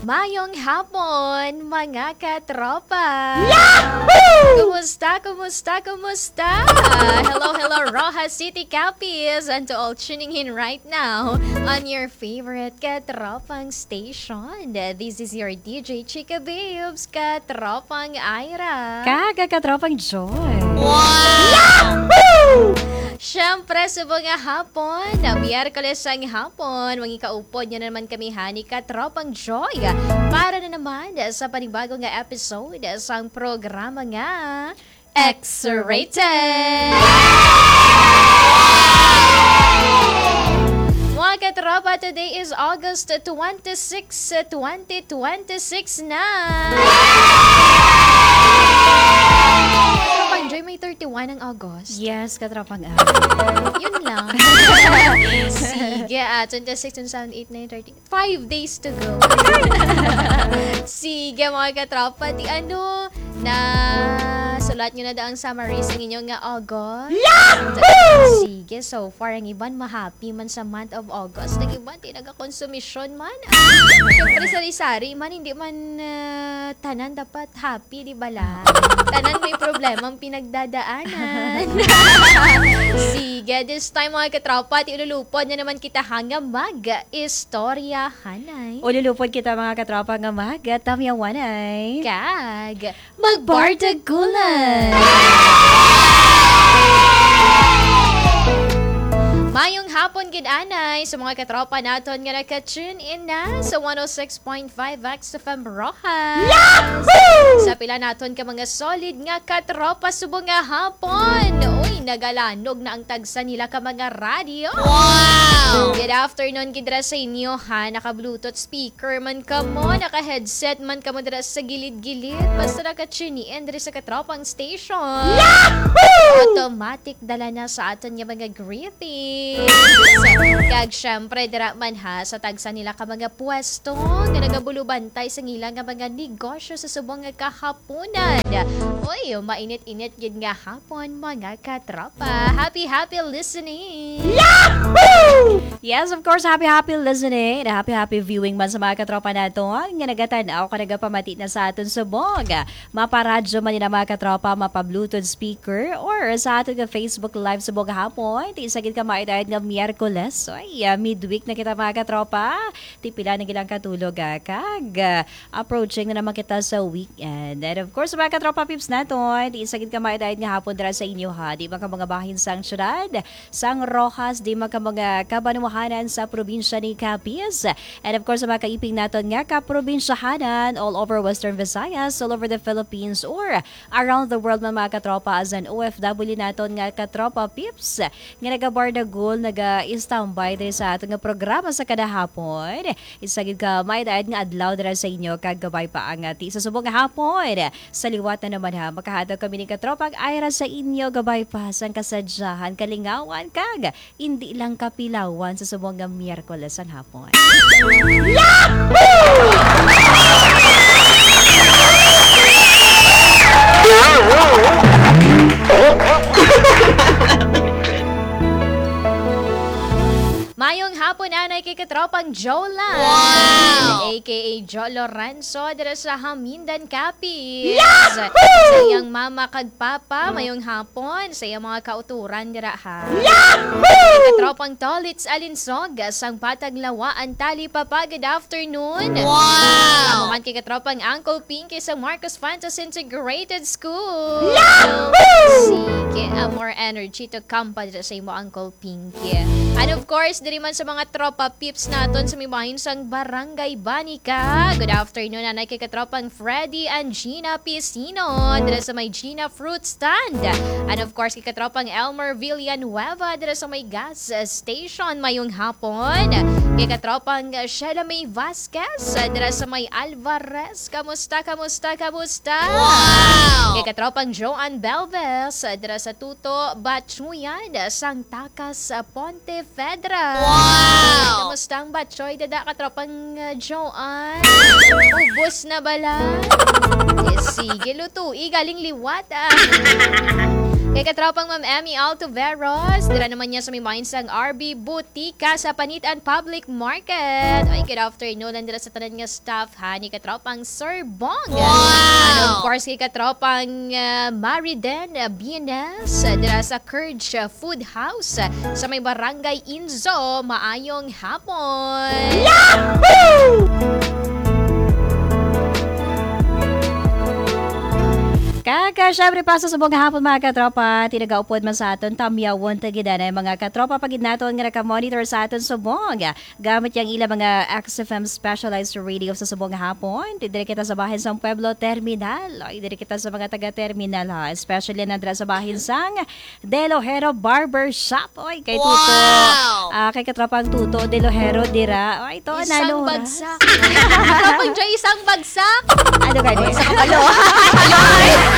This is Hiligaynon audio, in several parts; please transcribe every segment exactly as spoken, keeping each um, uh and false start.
Mayong hapon, mga katropa! Yahoo! Kumusta, kumusta, kumusta? Hello, hello, Roxas City Cappies, and to all tuning in right now on your favorite katropang station. This is your D J Chika Babes, katropang Ira. Kag katropang Joy. Wow! Yahoo! Siyempre, subong nga hapon, na Miyerkules ang hapon, mangikaupod niyo na naman kami, ha, ni Katropang Joy, para na naman sa panibago nga episode sang programa nga X-Rated! Mga katropa, today is August twenty-six, twenty twenty-six na. Katropang Joy, may thirty-one ang August. Yes, katropang Al. Yun lang. Sige, ah, twenty-six, twenty-seven, eight, nine, thirty. Five days to go. Sige, mga katropa, di ano, na sulat nyo na daw ang summary sa inyong nga August. Yahoo! Sige, so far, ang iban mahappy man sa month of August. Ang iban, di nagakonsumisyon man. Ah, siyempre, sari-sari man, hindi man, ah, tanan dapat happy, di ba lang? Tanan may problema ang pinagdadaanan. Sige, this time, mga katropa, ti ululupod na naman kita ha nga mag-istoryahanay. Ululupod kita, mga katropa, nga mag-tamyawanay. Kag magbardagulan. Mayong hapon gid anay sa mga katropa naton nga naka-tune in na sa one oh six point five X F M Roxas. Yahoo! Sa pila naton ka mga solid nga katropa subong nga hapon. Uy, nagalanog na ang tagsa nila ka mga radyo. Wow! Good afternoon gid ra sa inyo, ha. Naka-Bluetooth speaker man kamo, naka-headset man kamo dira sa gilid-gilid. Basta naka-tune in diri sa katropang station. Yahoo! Automatic dala na sa aton nga mga greetings. Kag syempre, dira man ha, sa tagsa nila ka mga pwesto nga nagabulubantay sa ila nga mga negosyo sa subong nga kahaponan. Uy, mainit-init gid nga hapon, mga katropa. Happy, happy listening! Yahoo! Yes, of course, happy, happy listening and happy, happy viewing man sa mga katropa nato nga nagatan-aw ka nagapamati na sa aton subong. Maparadyo man nila, mga katropa, mapa-Bluetooth speaker, or sa aton nga Facebook Live subong hapon. Ti isa gid ka maaydayon nga Miyerkules. Ay, ah, midweek na kita, mga katropa. Ti pila na gid lang ka tulog, ah, kag, ah, approaching na naman kita sa weekend. And of course, mga katropa peeps naton, ti isa gid ka maaydayon nga hapon dira sa inyo, ha. Di man ka mga bahin sang syudad, sang Roxas, di man ka mga kabanwahanan sa probinsya ni Capiz. And of course, sa mga kaiping naton nga kaprobinsyahanan all over Western Visayas, all over the Philippines, or around the world man, mga katropa, as an O F W naton nga katropa peeps nga nagabardagulan, naga-standby diri sa aton nga programa sa kada hapon. Isa gid ka maaydayon nga adlaw dira sa inyo, kag kabay pa ang, ah, ti sa subong nga hapon. Sa liwat na naman, ha, makahatag kami ni katropang Ira sa inyo, kabay pa sang kasadyahan, kalingawan, kag indi lang kapilawan sa subong nga Miyerkules ang hapon. Mayong hapon anay kay katropang Jolan, Wow! A K A Joe Lorenzo, dira sa Hamindan, Capiz. Yahoo! Sa iyang mama kag papa, mayong hapon. Sa iyang mga kauturan dira, ha. Yahoo! Kay katropang Tolits Alinsog, sang Patag Lawa, Antali, Papa, good afternoon. Wow! Amo man kay katropang Uncle Pinky sa Marcos Fuentes Integrated School. Yahoo! Sige, ah, more energy to come pa dira sa imo, Uncle Pinky. And of course, diri man sa mga tropa peeps naton sa may bahin sang Barangay Banica. Good afternoon, anay kay katropang Freddy and Gina Pisino, dira sa may Gina Fruit Stand. And of course, kay katropang Elmer Villanueva, dira sa may gas station. Mayong hapon. Kay katropang Sheila May Vasquez, dira sa may Alvarez. Kamusta, kamusta, kamusta? Wow! Kay katropang Joanne Belves, dira sa Tuto Bachuyan, sang Takas, Pontevedra. Wow! Kamusta ang batchoy, dada, katropang, uh, Joanne? Ubos na bala? Eh, sige, lutui galing liwat, ah. Kay katropang Ma'am Emmy Altuveros, dira naman niya sa may main sang R B Butika sa Panitan Public Market. Ay, good afternoon, and dira sa tanan nga staff, ha, ni katropang Sir Bong. Wow! And of course, kay katropang, ah, Mariden, ah, Bienes, ah, dira sa Curge, ah, Food House, ah, sa may Barangay Inzo. Maayong hapon! Yahoo! Kaka, syempre, pa sa subong nga hapon, mga katropa, tinagaupod man sa aton, tamyawon ta gid anay, mga katropa, pa gid naton nga naka-monitor sa aton subong gamit yang ila mga X F M specialized radio sa subong nga hapon. Diri kita sa bahin sang Pueblo Terminal. Oy, diri kita sa mga taga-terminal, ha, especially na dira sa bahin sang Delojero Barber Shop. Oy, kay Tuto. Wow! Ah, kay katropang Tuto Delojero dira. Oy, to, isang ano, bagsak. Katropang Joy, isang bagsak. Ano gani? Isa ka palo. Ay!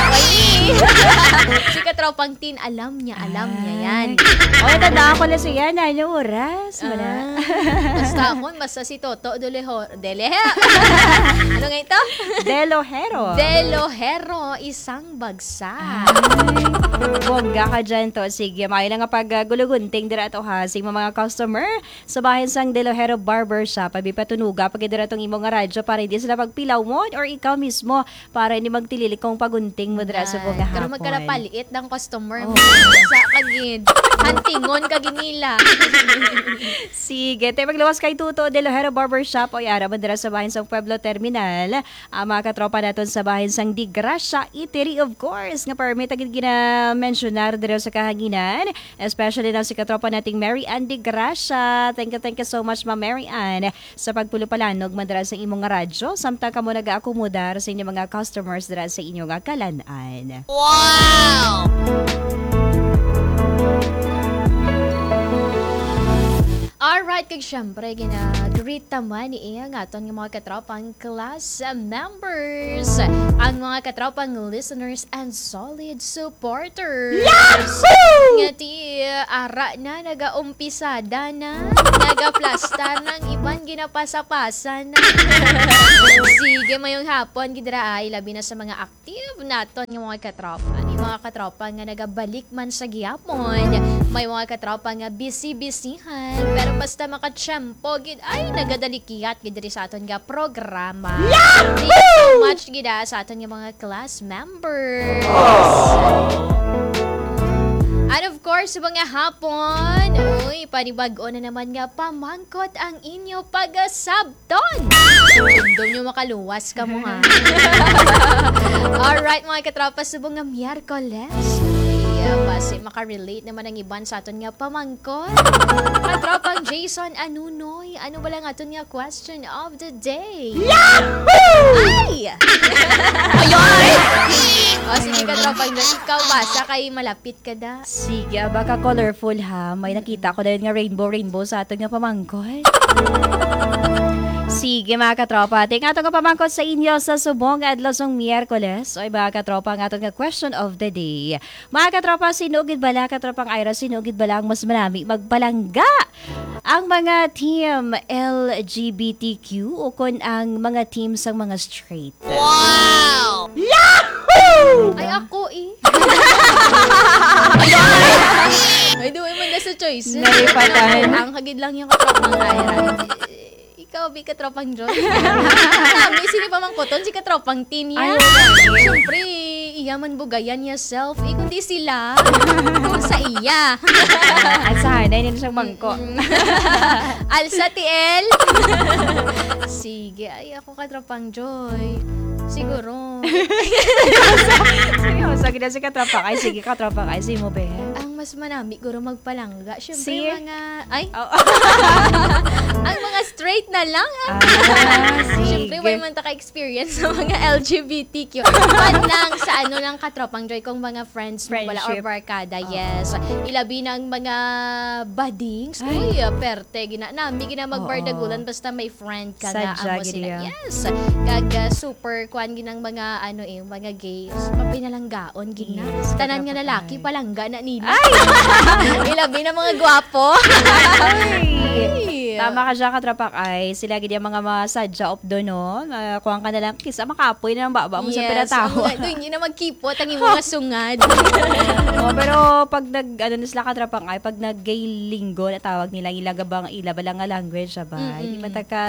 Si katropang Tin, alam niya, alam niya yan. Ay. Oy, tandaan ko na siya. Ano oras? Wala. Ah, basta ako, basta si Toto Deleho-, Delehe. Ano nga ito? Delojero. Delojero, isang bagsak. Ay, bongga ka dyan to. Sige, maayo na nga pag, ah, gulugunting dira to, ha, sa imong mga customer sa bahin sang Delojero Barber Shop. Abi, patunuga pa gid dira tong imo nga radyo para hindi sila magpilawon or ikaw mismo para hindi magtililikong pagunting mo dira sa subong nga hapon. Ay, pero magkalapalit ng customer mo. Oh. Sa kagid. Hantingon ka ginila. Sige, te, magluwas kay Tuto Delojero Barber Shop. Oy, ara man dira sa bahin sang Pueblo Terminal. Ang mga katropa naton sa bahin sang Di Gracia Eatery, of course, nga permi ta gid gina-mensionar diri sa kahanginan, especially na si katropa nating Mary Ann Di Gracia. Thank you, thank you so much, Ma'am Mary Ann, sa pagpulupalanog man dira sa imong nga radyo, samtang kamo nagaakomodar sa inyong mga customers dira sa inyo nga kalan-an. Wow! Alright, kag syempre, gina-greet ta man ni iya nga aton nga mga katropang class members, ang mga katropang listeners and solid supporters. Yahoo! Nga ti, ara na, nagaumpisada na, nagaplastar na, ang iban ginapasa-pasa na. Sige, mayong hapon gid ra, ay, labi na sa mga active naton nga mga katropa. Ni mga katropa nga nagabalik man sa gihapon. May mga katropa nga busy-busyhan. Pero basta makatsyempo gid, ay, nagadalikiat gid diri sa aton nga programa. Yahoo! Thank you so much gid, ah, sa aton nga mga class members. And of course, mga hapon, uy, panibag-o na naman nga pamangkot ang inyo pagasab ton! Dumdum nyo makaluwas ka mo, ha? Alright, mga katropa, subong nga Miyerkules. Ay, ah, basi makarelate naman ang iban sa aton nga pamangkon. Katropang Jason Anunoy, ano ba lang aton nga question of the day? Yahoo! Ay! Ay, ay! O, sige, katropang Jason, ikaw basa kay malapit Kada. Sige, ah, baka colorful, ha. May nakita ko dayon nga rainbow, rainbow sa aton nga pamangkot. Sige, mga katropa, ating ato nga pamangkot sa inyo sa subong nga adlaw sang Miyerkules. Oy, mga katropa, ang aton nga question of the day. Mga katropa, sino gid bala, katropang Ira, sino gid bala ang mas manami magpalangga? Ang mga team L G B T Q o kon ang mga team sang mga straight? Wow! Yahoo! Ay, ako eh. Ay, duway man na sa choice. Nalipatan. Ang hagid lang yung katropang Ira. Ikaw, bi, katropang John. Kami, sini pa man kuton, si katropang Tin, ya. Ay, okay. Siyempre, iya man bugayan niya self. Eh, kundi sila. Kung sa iya. At sa hanay, nila siyang bangko. Mm. Alsa, T L. Sige, ay, ako katropang Joy. Siguro. Seryoso, gina si katropang. Ay, sige, katropang. Ay, sige mo, be. Ang mas manami, guro magpalangga. Siyempre, si mga, ay? Oh. Ang mga straight na lang. Ah, sige. Siyempre, wala man ta ka-experience sa mga L G B T Q. Man lang sa ano lang, katropang Joy, kung mga friends mo, wala, or friendship, barkada, oo, yes. Ilabi na ang mga badings. Ay. Uy, ah, perte, gina-, nami, gina-, magbardagulan, oo, basta may friend ka na, sadya, amo gid sila. Iya. Yes. Kag, ah, super, kuan, ginang mga, ano eh, mga gays. Mapinalanggaon, gina. Yes, tanan nga lalaki, palangga na nila. Ay! Ilabi na mga gwapo. Ay! Ay! Tama ka dyan, katropang Ai. Sila gid yung mga masadya updo, no? Ah, kuwan ka na lang, kisa makapoy na ang baba mo sa Yes, pinatawa. Ang, doon, hindi na magkipot ang imong mga sungad. Oh, pero pag nag, ano na sila, katropang Ai, pag nag-gay linggo na tawag nila, ila gabang, ila ba lang nga language, ba? Hindi Mm-mm. mataka,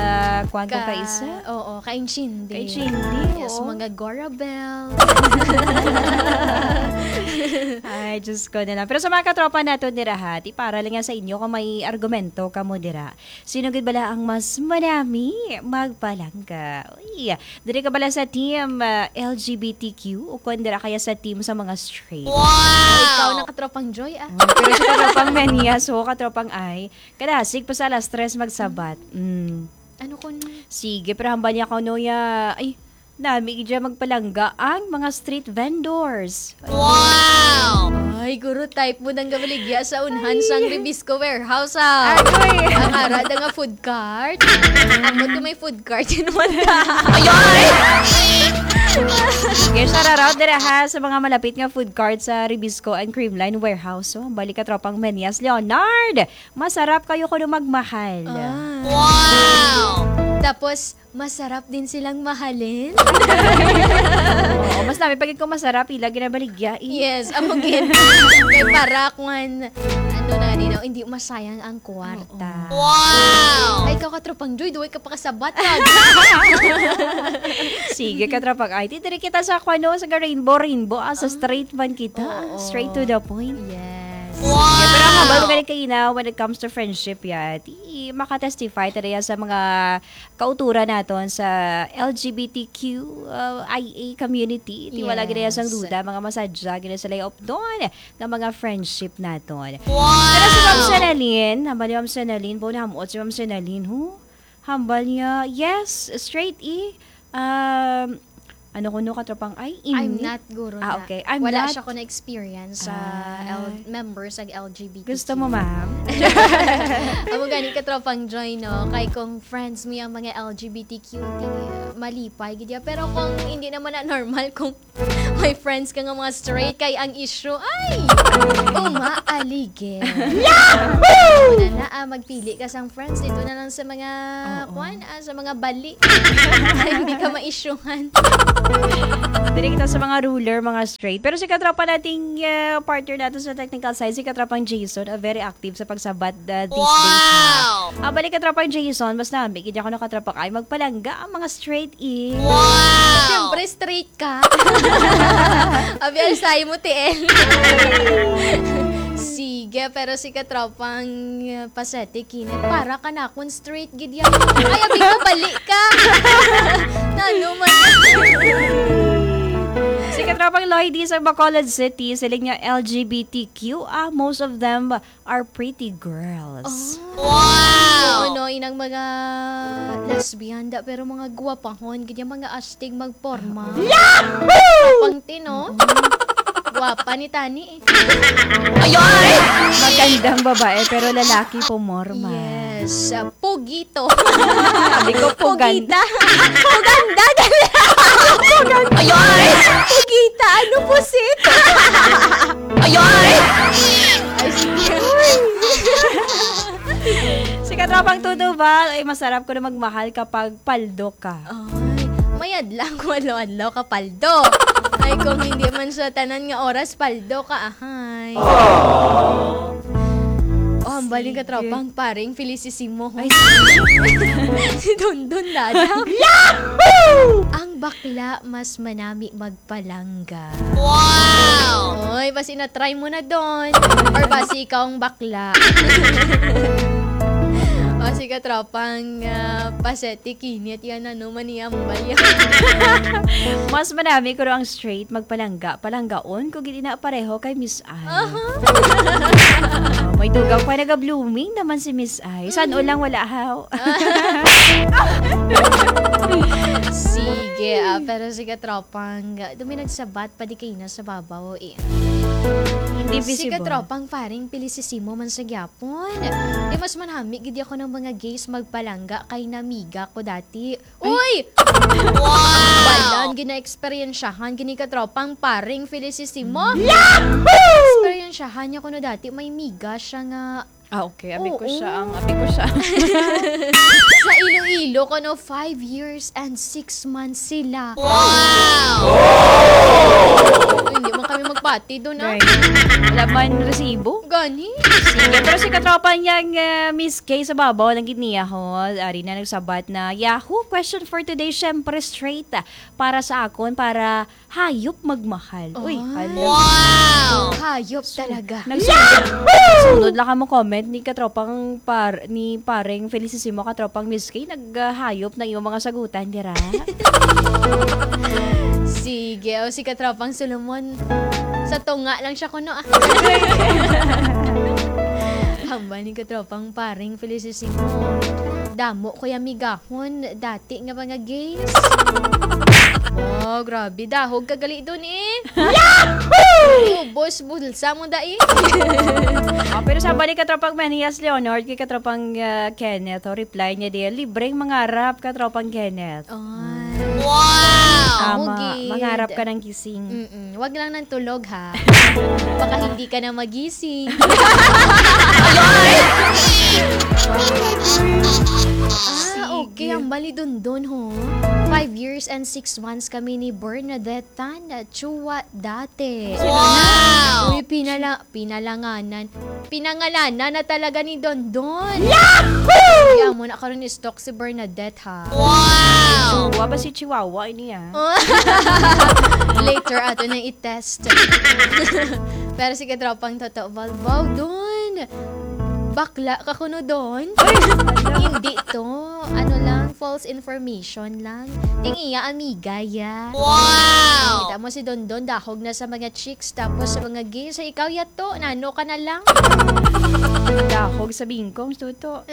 kuwan ka Ka, pa isa? Oo, kaintindi. Kaintindi, Yes, oo. mga Gorabel. Ay, Diyos ko na lang. Pero sa mga katropa nato dira, ha, ti para lang yan sa inyo kung may argumento ka mo dira. Sino gid bala ang mas manami magpalangga? Uy, diri ka bala sa team, ah, L G B T Q o kon dira kaya sa team sa mga straight? Wow! Ikaw na katropang Joy, ah. Oh, pero sa katropang Menias, ho, katropang Ai, kadasig pa sa alas tres magsabat. Mm. Ano kun Sige, pero hambal niya ka, no, ya. Ay, nami gid dyan magpalangga ang mga street vendors. Wow! Ay, guro, type mo nang gabaligya sa unhan sang Ribisco Warehouse, ah. Agoy! Ang ara da nga food cart. Ambot ko may food cart, yun naman ta. Sige, shout out dira, ha, sa mga malapit nga food cart sa Ribisco and Creamline Warehouse. So, balik ka, tropang Menias Leonard. Masarap kayo kuno magmahal. Ah. Wow! Tapos, masarap din silang mahalin. Oo, mas nami pag kung masarap, ila ginabaligya, eh. Yes, amo gid. Kay para kwan, ano na, di na, hindi masayang ang kwarta. Oo. Wow! Ay, ikaw, katropang Joy, duway ka pakasabat, ah. Sige, katropang Ai. Ti, diri kita sa, kwan, no, sa Rainbow, Rainbow, ah, sa Ah. straight man kita. Oo. Straight to the point. Yes. Wow! Kaya, pero ang habal ko gani kaina, when it comes to friendship, ya, ti, makatestify ta diya sa mga kauturan naton sa L G B T Q, uh, I A community. Ti wala gid sang Yes. duda, mga masadya, gid sila updon nga mga friendship naton. Wow! Pero si Ma'am Senalyn, hambal ni Ma'am Senalyn, bo, nahamot si Ma'am Senalyn, ho? Hambal niya, yes, straight, eh. Um, ano ko, no, katropang, ay, I'm ini? not, guro, Ah, na. okay. I'm Wala not siya ko na-experience sa Ah. L-, members ng L G B T Q. Gusto mo, ma'am? Amo gani, katropang Joy, no? Kay kung friends mo yung mga L G B T Q, ti, malipay gid ya. Pero kung hindi naman na normal, kung may friends ka nga mga straight, kay ang issue, ay, umaaligid. Yahoo! Una na, ah, magpili ka sang friends, dito na lang sa mga, Oo. kwan, ah, sa mga bali. Hindi ka ma-issuehan. Dili kita sa mga ruler, mga straight. Pero si katropa nating, ah, partner natin sa technical side, si katropang Jason, ah, very active sa pagsabat, ah, these days, ha. Wow! Ah, balik katropang Jason, mas nami, gid ako na katropang ay magpalangga ang mga straight, eh. Wow! Siyempre, straight ka. Abi, alsay mo, T L. Sige, pero si katropang, uh, Pasete Kinit, para ka na akong straight gid yan. Ay, abi ko, bali ka. Nano man. Si katropang Lloydie sa Bacolod City, siling niya L G B T Q, ah, most of them are pretty girls. Oh. Wow! Oo, no, inang mga lesbian da, pero mga guwapahon, ganyan mga astig magporma. Yahoo! Pang tino. Mm. Guwapa ni Tani, eh. Ayoy! Magandang babae, pero lalaki pumorma. Yes, ah, pugito. Sabi ko, pugan- Pugita. Puganda, gali. Ayoy! Pugita, ano po, sit? Ayoy! Ay, sige. Si katropang Tutuval, ay masarap ko na magmahal kapag paldo ka. Ay, mayad lang kung adlaw-adlaw ka paldo. Ay, kung hindi man sa tanan nga oras, paldo ka, ahay. Oh, ang baling Sige. katropang paring Felicissimo, ho. Ay, sige. Si Dondon Dada. Yahoo! Ang bakla mas manami mag palangga. Wow! Oy, basi na-try mo na, Don. Or basi ikaw ang bakla. O, si katropang, ah, Pasete Kinit, yan, ano, maniambal yan. Mas manami ko ang straight magpalangga. Palanggaon ko gid ina pareho kay Miss Ai. Aha. Ah, may dugang pa naga-blooming naman si Miss Ai. San-o lang wala, haw? Sige, ah, pero si katropang, ah, dumi nagsabat pa di kayo na sa babaw, eh. Hindi Si visible. katropang paring Felicissimo man sa gyapon. Di mas manami gid ako ng mga gays magpalangga kay namiga ko dati. Ay! Uy! Wow! Balan, gina-eksperyensyahan, gini katropang paring Felicissimo. Yahoo! Eksperyensyahan niya kuno dati, may miga siya nga Ah, okay. Abi ko siya ang, Oo. abi ko siya. Sa Iloilo, kuno five years and six months sila. Uy, hindi man kami magpati doon, ah. Right. Wala man resibo. Gani? Sige, pero si katropa niyang ah, Miss K sa babaw lang gid niya ho. Ari na nagsabat na Yahoo question for today, syempre straight ah, para sa akon, para hayop magmahal. Uy, Ay. hala. Wow! Hayop talaga. Nagsunod, nagsunod lang ka mo comment ni katropang par, ni pareng Felicissimo, katropang Miss K, naghayop na iyong mga sagutan dira. Sige, o si katropang Solomon. Sa tunga lang siya kuno ah. Hambal ni katropang paring Felicissimo. Damo ko yung migahon dati nga mga gays. Oh, grabe. Dahog ka gali dun eh. Ubos bulsa mo dai. Ah, pero sa balik katropang Manias Leonard, kay katropang ah, Kenneth, o reply niya di, libreng mangarap katropang Kenneth. Ay. Wow! Amo Tama, gid. Mangarap ka ng gising. Mm-mm. Wag lang ng tulog ha. Baka hindi ka na magising. Ah, okay. Ang bali dundon ho. Five years and six months kami ni Bernadette Tan Chua dati. Wow! Uy, pinala, pinalanganan. Pinangalanan na talaga ni Dondon. Yahoo! Kaya mo na karon ni stalk si Bernadette ha. Wow! Wa ba si Chihuahua ini ah? Later ato nang i-test. Pero sige, tropang Toto Balbaw, Don. Bakla ka kuno, Don? Hindi to. Ano lang, false information lang. Ting iya, amiga, ya. Wow! Kita mo si Dondon, dahog na sa mga chicks, tapos sa mga gays. Sa ikaw, yato, nano ka na lang. Dahog sa bingkong, tuto.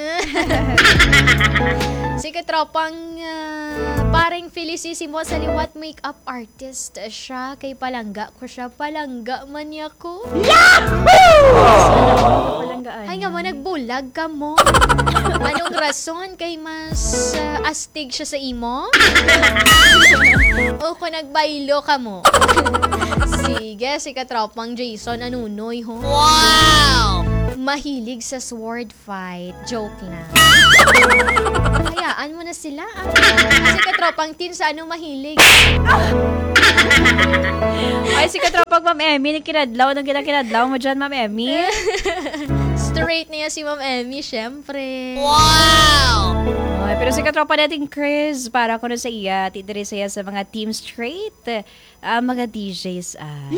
Si katropang ah, pareng Felicissimo sa liwat, makeup artist siya. Kay palangga ko siya. Palangga man niya ko. Palanggaan. Ay nga mo, nagbulag ka mo. Anong rason? Kay mas ah, astig siya sa imo? O kung nagbaylo ka mo? Sige, si katropang Jason Anunoy ho. Wow! Mahilig sa sword fight. Joke lang. Hayaan mo na sila. Ah. Si katropang Tin sa ano mahilig? Ay, si katropang Ma'am Emmy, nagkinadlaw. Anong ginakinadlaw mo dyan, Ma'am Emmy? Straight niya si Ma'am Emmy, syempre. Wow! Ay, pero si katropa natin Chris, para ko na sa iya, ti diri sa iya sa mga team straight, ah, mga D Js ah.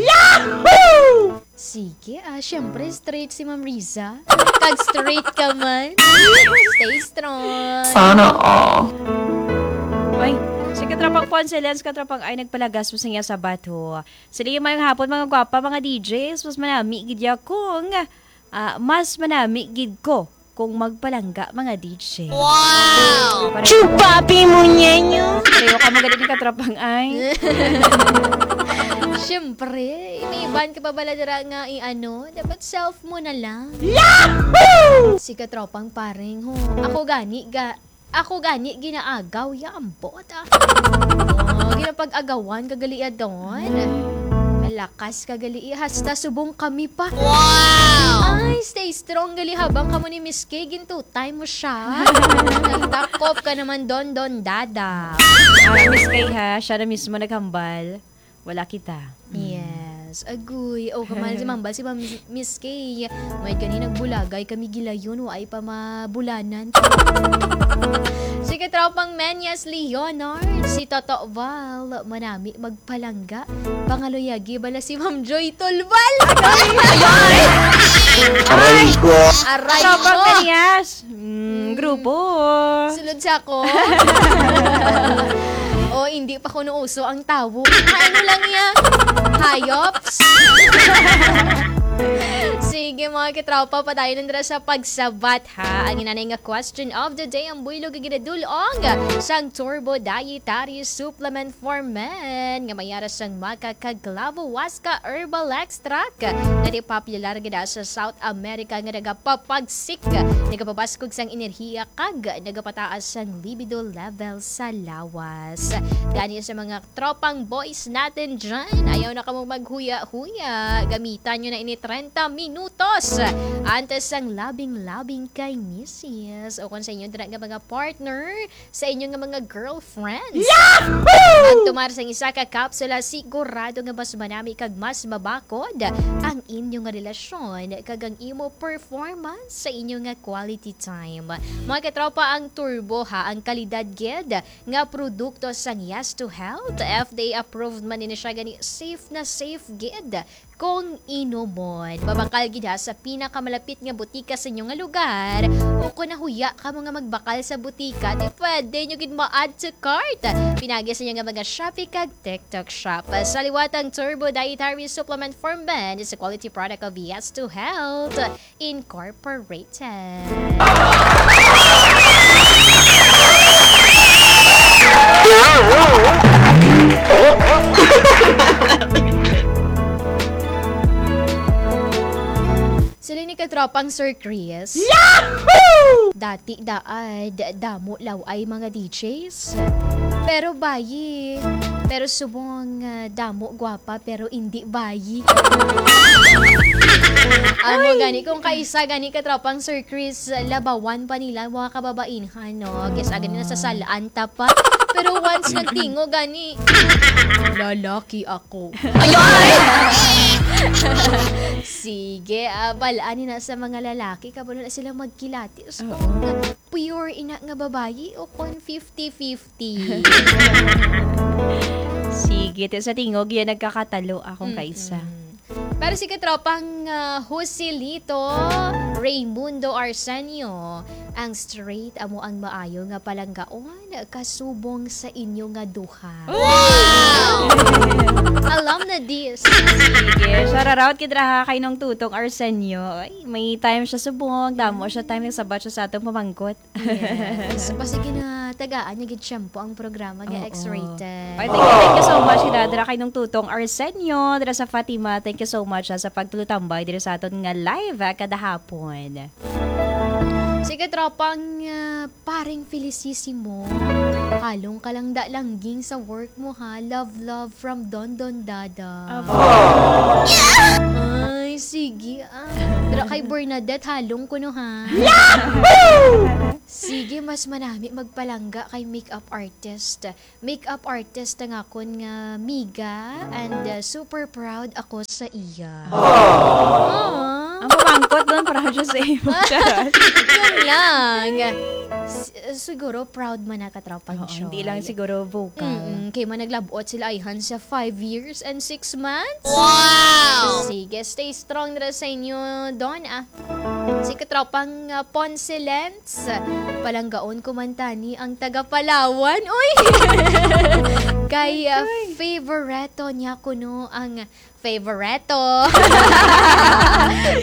Sige, ah, syempre, straight si Ma'am Riza. Kag straight ka man. Stay strong. Sana all. Ay, si katropang Ponce Lens, katropang ay nagpalagas mo sa iya sa bato. Sila yung mayong hapon, mga gwapa, mga D Js. Mas manami gid ya kung, ah, mas manami gid ko kung magpalangga, mga D J. Wow! Chupapi mo niya nyo. Pareho ka mo ganit ni katropang ay. Siyempre, may iban ka pa bala dira nga i-ano, dapat self mo na lang. Si katropang paring ho. Ako gani ga ako gani ginaagaw ya ambot ah. Oh, ginapag-agawan ka gali ya Don. Malakas ka gali iya, hasta subong kami pa. Wow! Ay, stay strong gali habang kamo ni Miss K, gintuta mo siya. Takop ka naman, Don Don Dada. Ah, Miss Kay ha, siya na mismo naghambal. Wala kita. Yes. Agoy. Oh, kamahal si Mambal, si Ma'am Miss K. May gani nagbulagay kami gilayon, wa ay pa mabulanan. Si katropang Menyas Leonard, si Toto Val, manami magpalangga. Pangaluyagi bala si Ma'am Joy Tulbal. Aray ko! Aray Tropang ko. Menyas. Mm, grupo. Sulod sa ako. O, hindi pa kuno uso ang tawo. Ay, ano lang niya? Hayops? Sige, mga katropa, padayon na dira sa pagsabat, ha. Ang inanay nga question of the day, ang buylog nga ginadul-ong sang Turbo Dietary Supplement for Men nga may ara sang maca kag clavo huasca herbal extract nga di popular gid sa South America nga nagapapagsik, nagapabaskog sang enerhiya kag nagapataas sang libido level sa lawas. Gani sa mga tropang boys natin dyan, ayaw na kamo maghuya-huya. Gamitan nyo na ini treinta minutos antes sang labing-labing kay misis o kung sa inyo dira nga mga partner, sa inyo nga mga girlfriends. Yahoo! Magtumar sang isa ka kapsula, sigurado nga mas manami kag mas mabakod ang inyo nga relasyon kag ang imo performance sa inyo nga quality time. Mga katropa, ang Turbo ha, ang kalidad gid nga produkto sang Yes to Health. F D A approved man ini siya, gani safe na safe gid kung inumon. Mabakal gid ha sa pinakamalapit nga butika sa inyo nga lugar, o kung nahuya kamo nga magbakal sa butika, di pwede nyo gid ma-add to cart. Pinagi sa inyo nga mga Shopee kag TikTok shop. Sa liwat ang Turbo Dietary Supplement for Men is a quality product of Yes to Health Incorporated. Sila ni katropang Sir Chris. Yahoo! Dati daan, damo law ay mga D Js. Pero bayi, pero subong, ah, damo gwapa, pero indi bayi. Amo gani, kung kaisa gani katropang Sir Chris, labawan pa nila mga kababainhan, no? Kesa gani nasasalaan ta pa. Pero once nagtingo gani, lalaki ako. Sige, ah, bal-an ni na sa mga lalaki, kabalo na sila magkilatis. Oo. Kung pure ina nga babayi o kung fifty fifty. Sige, ti sa tingog yan, nagkakatalo akong Mm-mm. kaisa. Para si katropang, ah, Joselito Raymundo Arsenio, ang straight amo ang maayo nga palanggaon kasubong sa inyo nga duha. Wow! Alam na this. Sige, shout out kay Draha kay Nong Tutong Arsenio. Ay, may time siya subong, damo siya time nagsabat siya sa atong pamangkot. Yes. Basta ginatagaan niya gid shampoo ang programa nga Oo. X-rated. Ay, thank you, thank you so much, Hidadra, kay Nong Tutong Arsenio, dira sa Fatima. Thank you so much, ah, sa pagtulutambay dira sa aton nga live, ah, kada hapon. Sige, tropang, ah, paring Felicissimo. Halong ka lang da langging sa work mo, ha. Love, love from Don Don Dada. Aba. Ay, sige, ah. Pero kay Bernadette, halong kuno, ha. Sige, mas manami magpalangga kay makeup artist. Makeup artist ang akon nga miga, and, uh, super proud ako sa iya. Aww. Ang pamangkot doon, proud siya sa imo. Charot. Yun lang. S-, siguro proud man na katropang Oo, Choi. Hindi lang siguro vocal. Mm-mm. Kay man naglabot sila ayhan sa five years and six months. Wow! Sige, stay strong na sa inyo, Don, ah. Si katropang, ah, Ponce Lens, palanggaon ko man tani ang taga Palawan. Uy! Kay, ah, Ay, ay. Favorito niya kuno ang, favorito.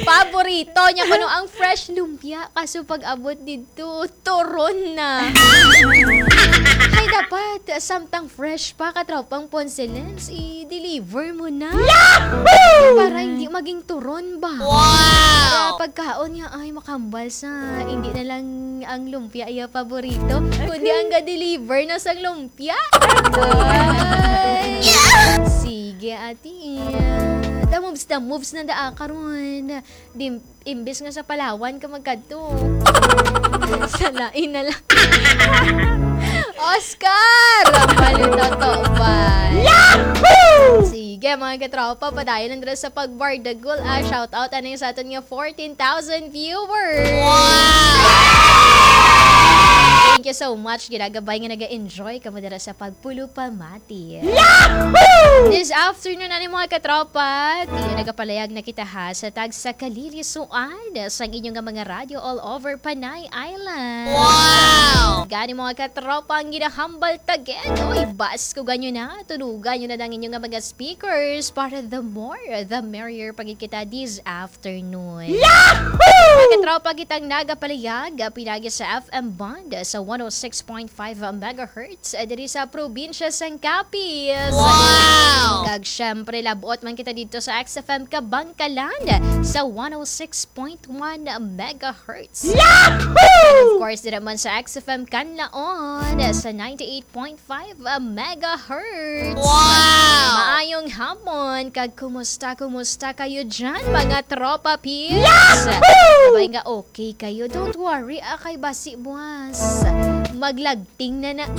Paborito niya kuno ang fresh lumpia. Kaso pag abot dito, turon na. Ay, dapat, samtang fresh pa, katropang Ponce Lens, i-deliver mo na. Yahoo! Para hindi maging turon ba? Wow! Kaya pagkaon niya, ay, makambal sa, hindi na lang ang lumpia iya paborito, kundi ang ga-deliver na sang lumpia. Ay! Sige, ate. Da moves, da moves na daa karon. Di, imbis nga sa Palawan ka magkadto. Sa lain na lang. Oscar! Maluto to ba? Yahoo! Sige, mga katropa, padayon lang dira sa pagbardagol, ah. Shout out, ano yung sa aton nga fourteen thousand viewers? Wow! Thank you so much. Ginagabay nga naga-enjoy kamo dira sa pagpulupamati. Yahoo! This afternoon, ani, mga katropa, ti-, nagapalayag na kita, ha, sa tagsa ka lilisuan sang inyo nga mga radyo all over Panay Island. Wow! Gani, mga katropa, ang ginahambal ta gid. Uy, baskugan nyo na, tunugan nyo na ang inyo nga mga speakers para the more, the merrier pa gid kita this afternoon. Yahoo! Mga katropa, kitang nagapalayag, ah, pinagi sa F M band, ah, sa one oh six point five megahertz, eh, diri sa probinsya sang Capiz. Wow! Kag syempre, labot man kita dito sa X F M Kabangkalan sa one oh six point one megahertz. Yahoo! And of course, dira man sa X F M Canlaon sa ninety-eight point five megahertz. Wow! Maayong hapon, kag kumusta, kumusta kayo dyan, mga tropa peeps? Yahoo! Sabay nga okay kayo, don't worry, ah, kay basi buwas maglagting na na.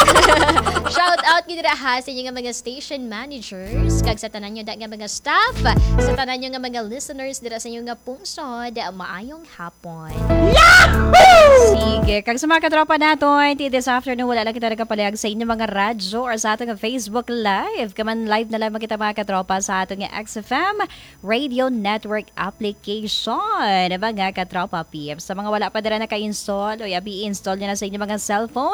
Shout out gid dira ha sa inyo nga mga station managers, kag sa tanan nyo da nga mga staff, sa tanan nyo nga mga listeners dira sa inyo nga pungsod, maayong hapon. Yahoo! Sige, kag sa mga katropa naton, ti this afternoon, wala lang kita nagapalihag sa inyo mga radyo or sa aton nga Facebook Live. Kaman live na lang kita, mga katropa, sa aton nga X F M Radio Network application. Mga katropa peeps, sa mga wala pa dira naka-install, o abi i-install nyo na sa inyong mga cellphone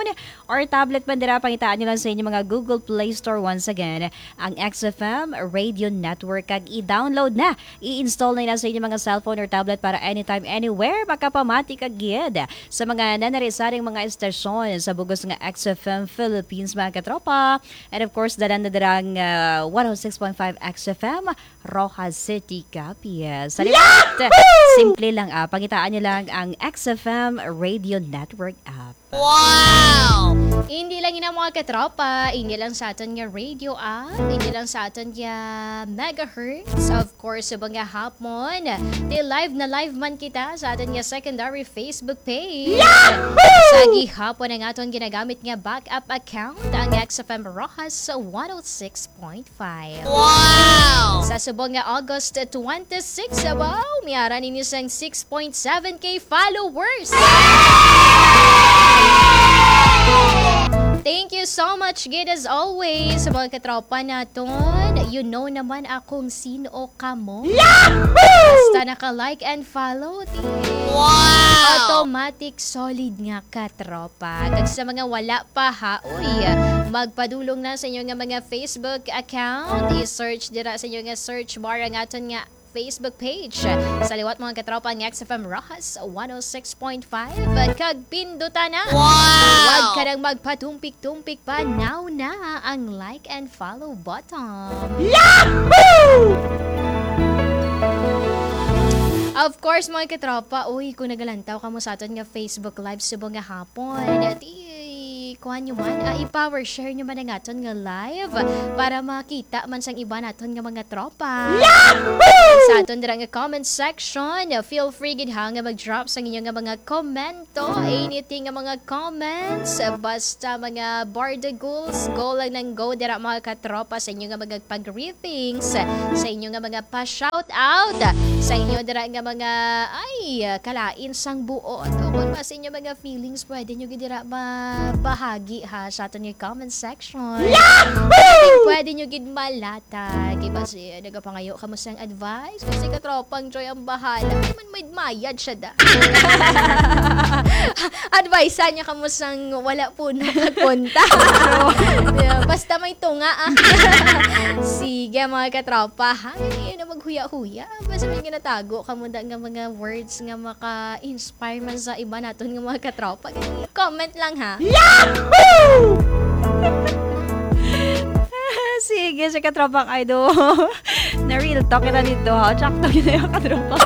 or tablet man dira, pangitaan nyo lang sa inyong mga Google Play Store once again ang X F M Radio Network, kag i-download na, i-install na ina sa inyong mga cellphone or tablet para anytime, anywhere, makapamati ka gid sa mga nanari-saring mga estasyon sa bugos nga X F M Philippines, mga katropa. And of course, dalan na dirang, ah, one oh six point five X F M, Roxas City, Capiz. Sa liwat, simple lang, ah, pangitaan nyo lang ang X F M Radio Network app. Wow! Hindi lang ina, mga katropa, hindi lang sa aton nga radio app, hindi lang sa aton nga megahertz. Of course, subong nga hapon, ti live na live man kita sa aton nga secondary Facebook page. Yahoo! Sa gihapon ang aton ginagamit nga backup account, ang X F M Roxas one oh six point five. Wow! Sa subong nga August twenty-six, wow, may ara ninyo sang six point seven K followers. Thank you so much, gid, as always, sa mga katropa naton. You know naman akong sino kamo. Yahoo! Basta naka-like and follow, ti Wow! automatic solid nga katropa. Kag sa mga wala pa, ha, uy, magpadulong na sa inyo nga mga Facebook account. I-search dira sa inyo nga search bar ang aton nga Facebook page. Sa liwat, mga katropa, ang X F M Roxas one oh six point five. Kag pindutan na. Wow! Huwag ka nang magpatumpik-tumpik pa. Now na ang like and follow button. Yahoo! Of course, mga katropa, uy, kung nagalantaw kamo sa aton nga Facebook Live subong nga hapon, di, kuha nyo man, ah, i-power share nyo man ang aton nga live para makita man sang iba naton nga mga tropa. Yahoo! Sa aton dira nga comment section, feel free gid ha nga mag-drop sang inyo nga mga komento, anything nga mga comments, basta mga barda goals, go lang nang go dira, mga katropa, sa inyo nga mga pag-greetings, sa inyo nga mga pa-shout out, sa inyo dira nga mga, ay, kalain sang buot, o kung ba sa inyo mga feelings, pwede nyo gid dira mabahagi ha sa aton nga comment section. Yahoo! Pwede nyo gid malatag. Iba si, nagapangayo kamo sang advice. Kasi katropang Joy ang bahala. Ay man, may mayad siya da. Advice niya kamo sang wala po na nagpunta. Yeah, basta may tunga, ah. Sige, mga katropa, ha? Hindi na maghuya-huya. Basta may ginatago kamo da nga mga words nga maka-inspire man sa iba naton nga mga katropa. Comment lang, ha? Yahoo! Sige, si katropang Idol. Na real talk kita dito, ha? Tsakto kita yung katropa.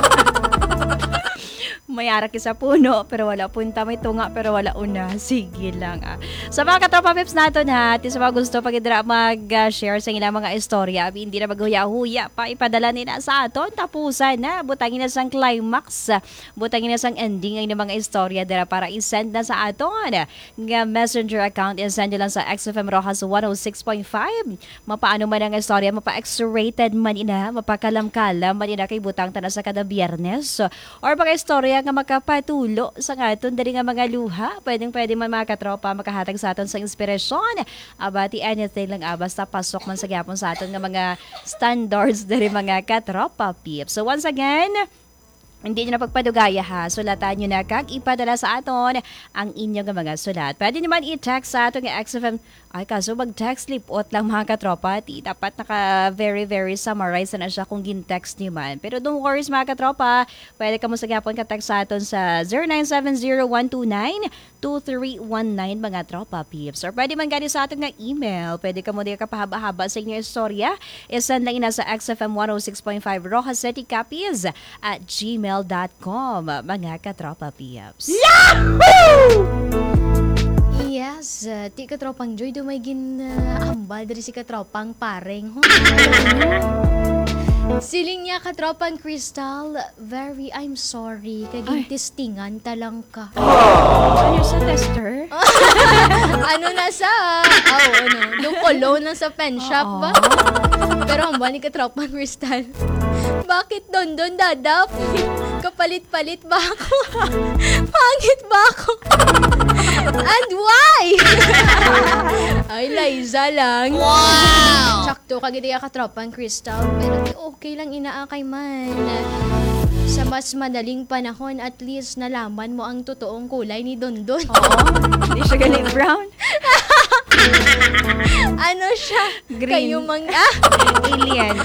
May arak sa puno, pero wala punta. May tunga, pero wala una. Sige lang, ah. Sa mga katropa peeps naton, ha, ti sa mga gusto pa gid dira mag-share sa ilang mga istorya, abi, hindi na maghuya-huya pa, ipadala nila sa aton. Tapusan na, butangi na sang climax, butangi na sang ending ang inyong mga istorya dira para i-send na sa aton nga messenger account. I-send nyo lang sa X F M Roxas one oh six point five. Mapaano man ang istorya, mapa-X-rated man ina, mapakalam-kalam man ina, kay butang ta na sa kada Biyernes. Or mga istorya nga makapatulo sa aton diri nga mga luha. Pwedeng pwede man, mga katropa, makahatag sa aton sa inspirasyon. Aba, ti anything lang, ah, basta pasok man sa gyapon sa aton nga mga standards diri, mga katropa peeps. So once again, hindi nyo na pagpadugaya, ha. Sulatan nyo na kag ipadala sa aton ang inyo nga mga sulat. Pwede naman i-text sa aton nga X F M. Ay, kaso mag-text, lipot lang, mga katropa. Ti, dapat naka very, very summarize na siya kung gin-text nyo man. Pero don't worries, mga katropa. Pwede kamo sa gyapon ka-text sa aton sa zero nine seven zero one two nine two three one nine, mga tropa peeps. Or pwede man gani sa aton nga email. Pwede kamo diya kapahaba-haba sa inyong istorya. I-send lang ina sa X F M one oh six point five Roxas City, Capiz at gmail dot com, mga katropa peeps. Yes, uh, ti katropang Joy, do may gin, uh, ambal diri si katropang Pareng, ho. Siling niya, katropang Crystal, very, I'm sorry, kay Ay. gintistingan ta lang ka. Ano sa tester? Ano na sa, aw, ano, yung cologne na sa pen shop Oo. ba? Pero ang balik ka, tropang Crystal. Bakit Dondon Dadap? Kapalit-palit ba ako? Pangit ba ako? And why? Ay, Liza lang. Wow! Sakto ka gid iya, katropang Crystal. Pero di okay lang ina, kay man. Sa mas madaling panahon, at least nalaman mo ang totoong kulay ni Dondon. Oo. Hindi siya gali brown. Ano siya? Green. Kayo mang-, ah! Alien.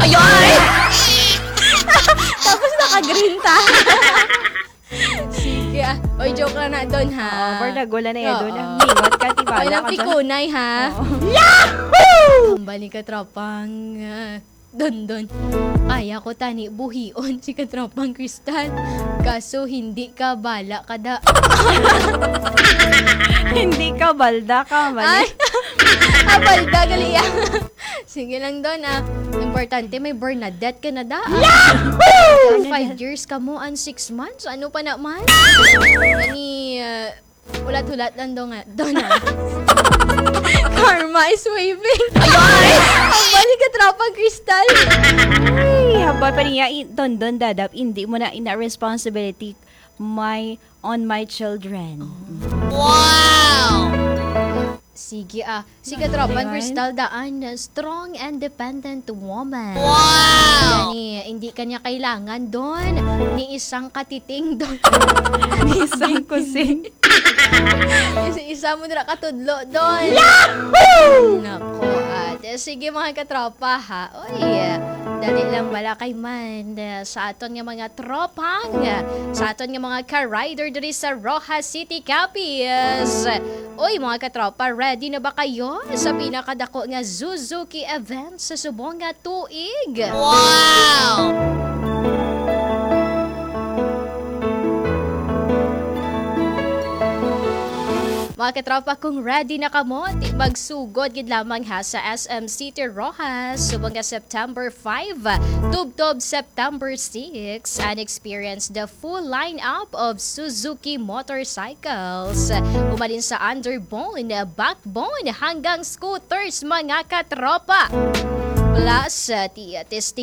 Ayoy! Tapos naka-green ta. Sige, ah. Oy, joke lang na, Don, ha? Oo, pero nagwala na yan, Oo. Don. Ang mingot ka, tiba Oy, lang lang ka dyan. Pikunay, ha? Oo. Yahoo! Ang balik ka, tropang, ah, Dondon. Kaya ko tani buhion si katropang Crystal. Kaso hindi ka bala kada. Hindi ka balda ka, mali. Ay! Ah, balda, gali yan. Sige lang, Don, ah. Importante, may Bernadette ka na da. Yahoo! Five years ka mo and six months? Ano pa naman? Ani, ah, hulat-hulat lang, Don, ah. Don, ah. Karma is waving. Ay! Ang balik ka, tropang Crystal. Ay, haba pa niya, i-, Dondon Dadap, hindi mo na ina responsibility my, on my children. Wow! Sige, ah. Sige, tropang Ayun. Crystal, daan, strong, independent woman. Wow! Gani, hindi ka niya kailangan, Don. Ni isang katiting, Don. Ni isang kusing. Isa-isa mo dira katudlo, Don. Yahoo! Nako, ate. Sige, mga katropa, ha. Oy, dali lang bala kay man, eh, sa aton nga mga tropang, eh, sa aton nga mga ka-rider diri sa Roxas City, Capiz. Oy, mga katropa, ready na ba kayo sa pinakadako nga Suzuki event sa subong nga tuig? Wow! Mga katropa, kung ready na kamo, ti magsugod gid lamang ha sa S M City Roxas subong nga September five, tubtob September six, and experience the full lineup of Suzuki motorcycles. Umalin sa underbone, backbone, hanggang scooters, mga katropa. Plus, uh, ti-, testing